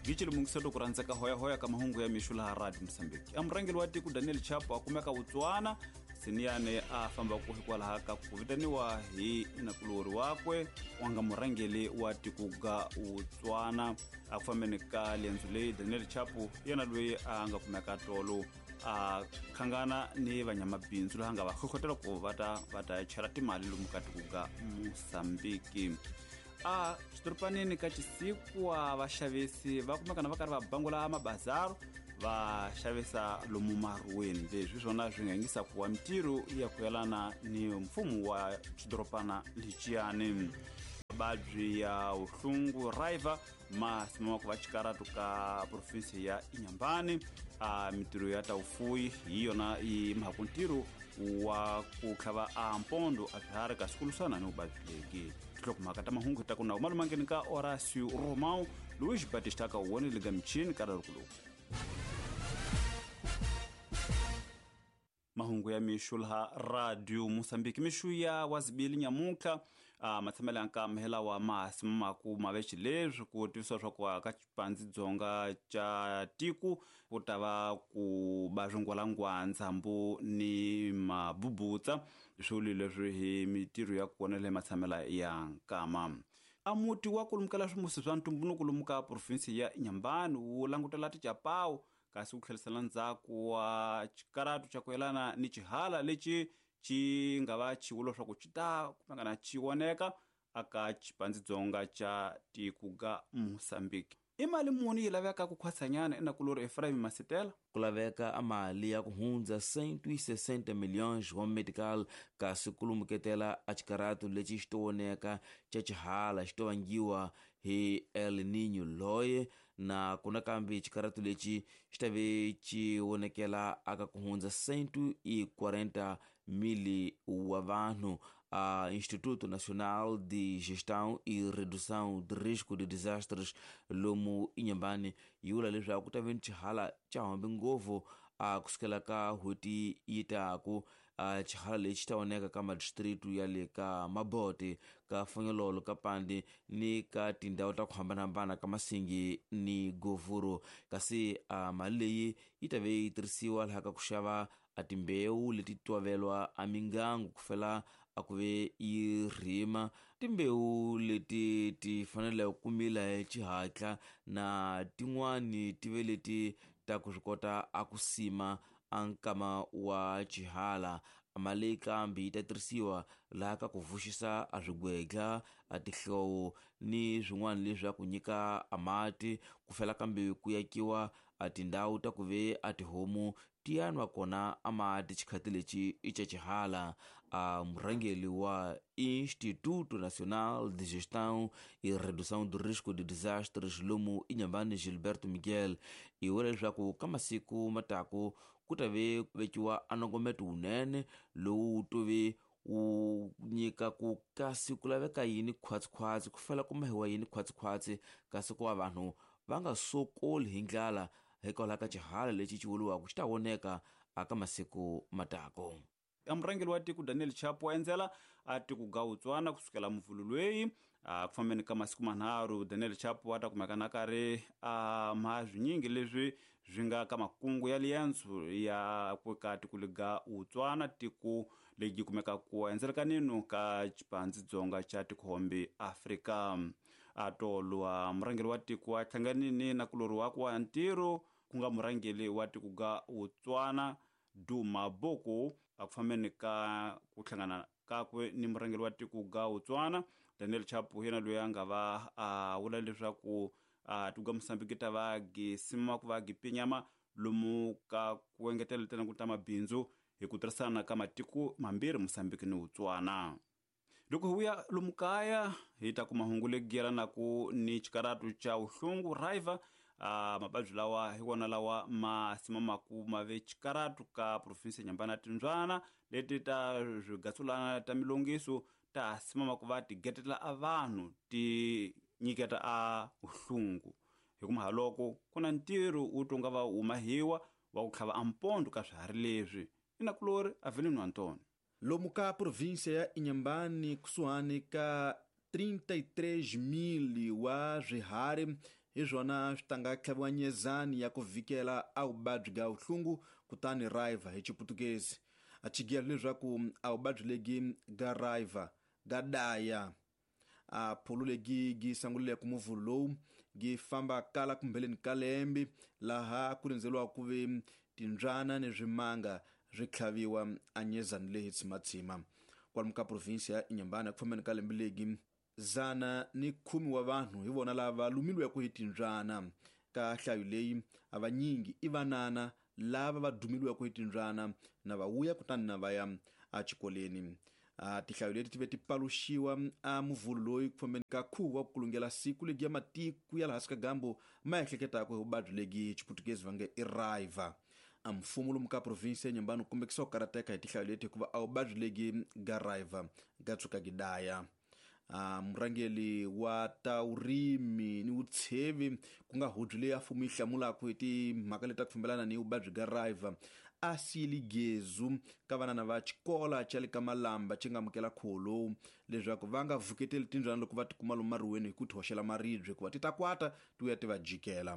Gicile mungiselo ku rhandzeka hoyahoya ka mahungu ya mixo laha Radio Mosambiki. A murhangeri wa tiko Daniel Chapo a kumeka Botswana, Siniyane a fambaka hikwalaho ka ku vitaniwa hi nakulori wakwe wa nga murhangeri wa tiko ga Botswana. A ku fambeni ka liendzo leyi Daniel Chapo yena loyi a nga kumeka tolo a khangana ni vanyamabindzu laha nga va hlohlotela ku va ta chela timali lomu ka tiko ga Mosambiki. A xidoropanini ka Chisikwa vaxavisi va kumekana va karhi va bangula mabazaro va xavisa lomu maruweni. Leswi swona swi nga yingisa ku wa mitirho ya ku yelana ni mfumo wa xidoropana lexiyani. Mavabyi ya vuhlungu raiva ma simama ku va xikaratu ka provinsi ya Inhambane. A mitirho ya ta vufuwi hi yona yi mhaka ntirho wa ku tlhava a mpondo a swiharhi kasi ku lwisana ni vuvabyi lebyi. Tinhlokomhaka ta mahungu ta ku na malumangeni ka Horacio Romão, Luiz Batista ka wona le ka michini ka rikulu. Mahungu ya mixo laha Radio Mosambiki. Mixo ya wazibili nyamutlha matshamelo ya nkama lawa ma simamaku mavexi leswi ku tivisiwa swa ku ka xipandzi dzonga xa tiko ku ta va ku ba swingwalangwa ndzhambu ni mabubutsa swilo leswi hi mitirho ya kona le matshamelo ya nkama. A muti wa kulumukela swimusi swa ntumbuluko lomu ka provinsi ya Inhambane wu langutela tichapawu kasi ku tlherisela ndzhaku wa xikaratu xa ku yelana ni xihala lexi xi nga va xivulwa swa ku xi ta kumekana xi voneka aka xipandzidzonga xa tiko ga Mosambiki. I mali muni yi laveka ku khwatsanyana enakulori Ephraim Masitela? Ku laveka a mali ya ku hundza 160 milhões wa medical kasi ku lumuketela a xikaratu lexi xi to voneka xa xihala xi to vangiwa hi El Niño loye na ku nakambe xikaratu lexi xi ta ve xi vonekela aka ku hundza 140 mil wa vanhu. A Instituto Nacional de Gestão e Redução de Risco de Desastres lomu Inhambane yi vula leswaku ku ta ve ni xihala xa hambi ngopfu a kusukela ka n'hweti yi taku. A xihala lexi ta voneka ka madistritu ya le ka Mabote, ka Fonyololo, ka Pandi ni ka tindhawu ta ku hambanahambana ka Masingi ni Govuro. Kasi a mali leyi yi ta ve yi tirhisiwa laha ka ku xava a timbewu leti tovelwa a mingangu ku fela a ku ve yi rima timbewu leti ti fanele ku mila hi xihatla na tin'wani ti ve leti ta ku swi kota a ku sima a nkama wa xihala. Mali kambe yi ta tirhisiwa laha ka ku vuxisa a swigwedla, a tihlowo ni swin'wana leswaku nyika a mati ku fela kambe ku yakiwa a tindhawu ta ku ve a tihomu ti ya nwa kona a mati xikhati lexi i xa xihala. A murhangeri wa Instituto Nacional de Gestão e Redução do Risco de Desastres lomu Inhambane Gilberto Miguel i vula leswaku ka masiku mataku ku ta ve vekiwa a nongometo wunene lowu to ve wu nyika ku kasi ku laveka yini khwatsikhwatsi ku fela ku mahiwa yini khwatsikhwatsi kasi ku va vanhu va nga sokoli hi ndlala hikwalaho ka xihala lexi xi vuriwaka xi ta voneka aka masiku matako. A murhangeri wa tiko Daniel Chapo wa endzela a tiko ga Botswana kusukela muvhulu loyi a ku fambeni ka masiku manharhu. Daniel Chapo a ta kumeka na karhi a mha swinyingi leswi swi nga ka makungu ya liendzo ya ku ka tiko lega Botswana, tiko leyi kumeka ku endzela ka nino ka xipandzidzonga xa tikhombi Afrika. A tolwa murhangeri wa tiko wa hlanganini na kulori wakwe wa ntirho ku nga murhangeri wa tiko ga Botswana Duma Boko a ku fambeni ka ku hlangana kakwe ni murhangeri wa tiko ga Botswana Daniel Chapo yena loyi a nga va a vula leswaku a tiko ga Mosambiki ta va gisima ku va gipinyama lomu ka ku engetela tena ku ta mabindzu hi ku tirhisana ka matiko mambirhi Mosambiki ni Botswana. Loko hi vuya lomu kaya hi ta kuma hungu legi yelanaka ni xikaratu xa vuhlungu raiva. Mavabyi lawa hi wona lawa ma simamaku ma ve xikaratu ka provinsi ya Inhambane timbyana leti ta swigatsulana ta milongiso ta simamaku va ti getela a vanhu ti nyiketa a vuhlungu. Hi kuma haloko ku na ntirho wu tonga va humahiwa wa ku tlhava a mpondo ka swiharhi leswi. Inakulori Avelino Antônio. Lomu ka província ya Inhambane kusuhani ka 33 000 wa swiharhi Hi swona swi tanga tlhaviwa nyezani ya ku vhikela a vuvabyi bya vuhlungu kutani raiva hi Chiputukezi. A chigelo leswaku a vuvabyi legi ga raiva ga daya. A pholo legi gi sanguleke muvhulu lowu gi famba kala kumbeleni ka lembe laha ku rindzeriwa ku ve timbyana ni swimanga swi tlhaviwa a nyezani leyi tshimatsima. Kwalomu ka provinsi ya Inhambane ku fambeni ka lembe legi 110 wa vanhu hi vona lava lumiliweke hi timbyana. Ka nhlayo leyi a vanyingi i vanana lava va dumiliweke hi timbyana na va vuya kutani na va ya exikolweni. Tinhlayo leti ti ve ti paluxiwa a muvhulu loyi ku fambeni ka khuvo wa ku kulungela siku legi ya matiko ya laha hansi ka gambo ma ehleketaka hi vuvabyi legi Chiputukezi va nge i raiva. A mfumo lomu ka provinsi ya Inhambane wu kombekisa ku karhateka hi tinhlayo leti hikuva a vuvabyi legi ga raiva ga tshuka gi daya. Murhangeri wa ta vurimi ni vutshevi ku nga hudzo leyi a mfumo yi hlamulaka hi timhaka leti ta ku fambelana ni vuvabyi bya raiva a siyile gezu ka vanana va xikola xa le ka Malamba xi nga amukela khuvo lowu leswaku va nga vuketeli timbyana loko va tikuma lomu mariweni hi ku ti hoxela maribye hikuva ti ta kwata ti vuya ti va jikela.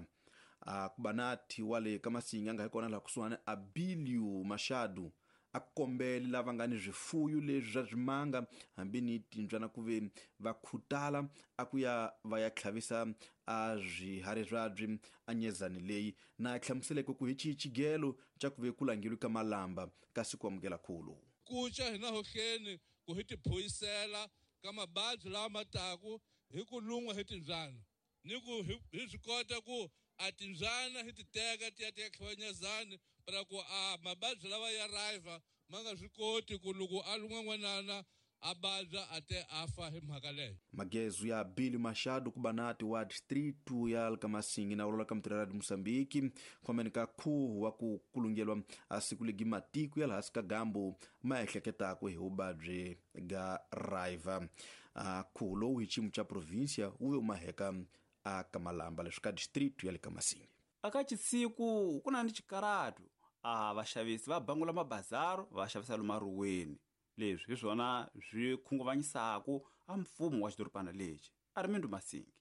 Ku va na thi wa le ka Masinga nga hi kona laha kusuhani Abilio Machado a kombele lava nga ni swifuyo leswi swa swimanga hambi ni timbyana ku ve va khutala a ku ya va ya tlhavisa a swiharhi swabyi a nyezani leyi na hlamuseleke ku hi xihi xigelo xa ku ve ku langeliwe ka Malamba kasi ku amukela khuvo lowu. Kuca hina hohleni ku hi tiphuyisela ka mababyi lawa ma taku hi ku lun'wa hi timbyana ni ku hi swi kota ku a timbyana hi ti teka ti ya ti ya tlhaviwa nyezani para ku a mababyi lawa ya raiva ma nga swi koti ku loko a lun'wa n'wanana a vabya a te a fa hi mhaka leyo. Magezu ya Billy Machado ku banati wa distrito ya ka Masingi na vulavula ka mutirhela de Moçambique khomeni ka khuvo wa ku kulungeliwa a siku legi matiko ya laha hansi ka gambo ma ehleketaka hi vuvabyi ga raiva. Khuvo lowu hi xiyimo xa provinsia wu ve wu maheka a ka Malamba leswi ka distrito ya le ka Masingi. Aka Chisiku ku na ni xikaratu a vaxavisi va bangula mabazaro va xavisa lomu maruweni. Leswi hi swona swi khunguvanyisaka a mfumo wa xidorobana lexi. Armindo Masingi.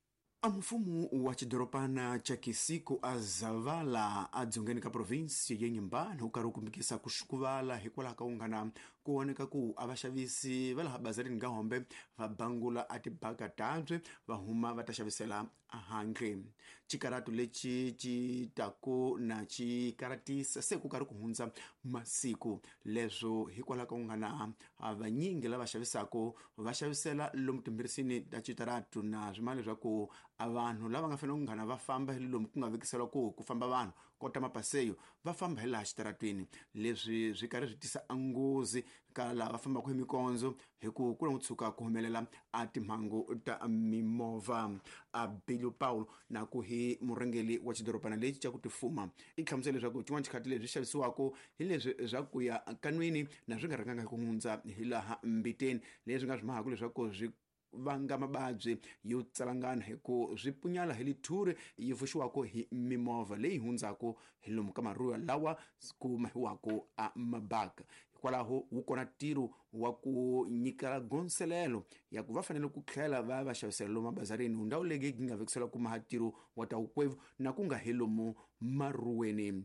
A mfumo wa xidorobana xa Kisiko a Zavala a dzongeni ka provinsi ya Inhambane wu karhi wu kombekisa ku xukuvala hikwalaho ka unghana ku voneka ku a vaxavisi va laha bazarini ga hombe va bangula a tibaga tabye va huma va ta xavisela handle. Xikaratu lexi xi taku na xi karatisa se ku karhi ku hundza masiku leswo hikwalaho ka unghana vanyingi lava xavisaka va xavisela lomu timbirisini ta xitaratu na swimali leswaku a vanhu lava nga fanele ku nghana va famba hi lomu ku nga vekisela ku famba vanhu kota mapaseyo va famba hi laha xitaratwini. Leswi swi karhi swi tisa nghozi ka lava fambaka hi mikondzo hi ku ku tshuka ku humelela a timhangu ta mimovha. A Bilio Paulo na ku hi murhangeri wa xidorobana lexi xa ku tifuma i hlamusela leswaku xin'wana xikhathi leswi xavisiwaka hi leswi swa ku ya kanwini na swi nga rhanganga hi ku hundza hi laha mbiteni leswi nga swi mahaka leswaku swi vanga mababyi yo tsalangana hi ku swi punyala hi lithuri yi pfuxiwaka hi mimovha leyi hundzaka hi lomu ka maruwa lawa ku mahiwaka a mabaka. Hikwalaho wu kona ntirho wa ku nyika gonselelo ya ku va fanele ku tlhela va va xavisela lomu mabazarini ndhawu leyi yi nga vekisela ku maha ntirho wa ta wukwevu na ku nga hi lomu maruweni.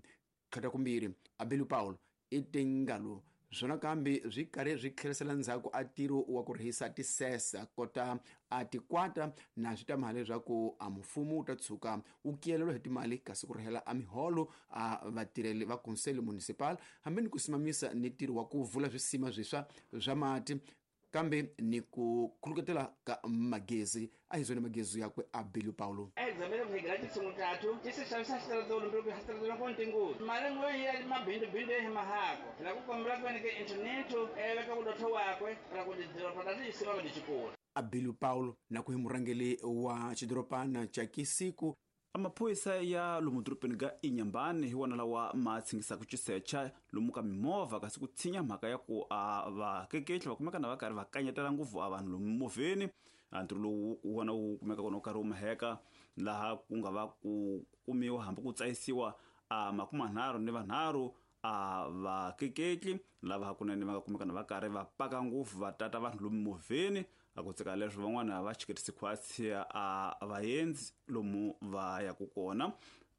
Khata kumbirhi Abelu Paulo i tingalo swona kambe swi karhi swi tlherisela ndzhaku a ntirho wa ku rihisa tisesa kota a tikwata na swi ta mali leswaku a mfumo wu ta tshuka wu kiyelelwa hi timali kasi ku rihela a miholo a vatirheli va conselho municipal hambi ni ku simamisa ni ntirho wa ku vula swisima swiswa swa mati kambe ni ku khuluketela ka magezi a hi zwona magezi yakwe a Bilio Paulo. A Bilio Paulo na ku hi murhangeri wa xidorobana xa Kisiko. Amaphorisa ya lomu dorobeni ga Inhambane hi wona lawa ma tshingisaka xisecha lomu ka mimovha kasi ku tshinya mhaka ya ku a vakeketli va kumeka na va karhi va kanyetela ngopfu a vanhu lomu movheni. Ntirho lowu wona wu kumeka kona wu karhi wu maheka laha ku nga va ku kumiwa hambi ku tsayisiwa a 33 a vakeketli lava hakunene va nga kumeka na va karhi va paka ngopfu va tata vanhu lomu movheni. A ku tsika leswo van'wana va chiketisi khwatsi a vaendzi lomu va yaku kona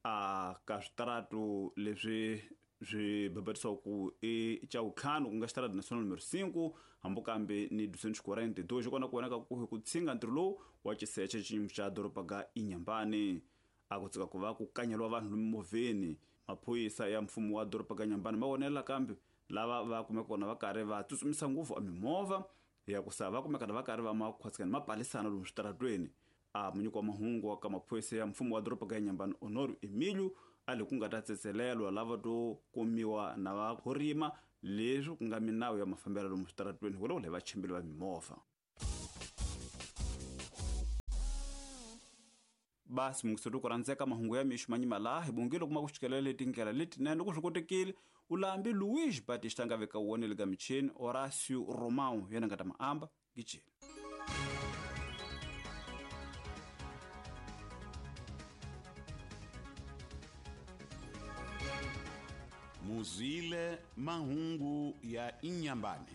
a ka switaratu leswi swi bebetisiwa ku i ca vutlhanu, ku nga xitarata national numero 5, hambi kambe ni 242 xi kona ku vonaka ku hi ku tshinga ntirho lowu wa xiseche xiyimo xa doroba ga Inhambane. A ku tsika ku va ku kanyeliwa vanhu lomu movheni. Maphorisa ya mfumo wa doroba ga Inhambane ma vonela kambe lava va kumeka kona va karhi va tsutsumisa ngopfu a mimovha ya ku sa va kumeka va karhi va makhwatsikani ma palisana lomu switaratweni. A munyiki wa mahungu wa ka maphorisa ya mfumo wa doroba ga Inhambane, Honório Emílio, a le ku nga ta tsetselelwa lava to kumiwa na va khorima leswi ku nga minawu ya mafambelo lomu switaratweni vulavula hi vachimbili va mimovha. Basi mungiseri ku rhandzeka, mahungu ya mixo manyima laha hi bongile kuma ku xikelela letindlela letinene loko swi kotekile ulambi Luís Batista nga veka wona le ka michini, Horácio Romão yena nga ta maamba gijeni. Muzwile mahungu ya Inhambane.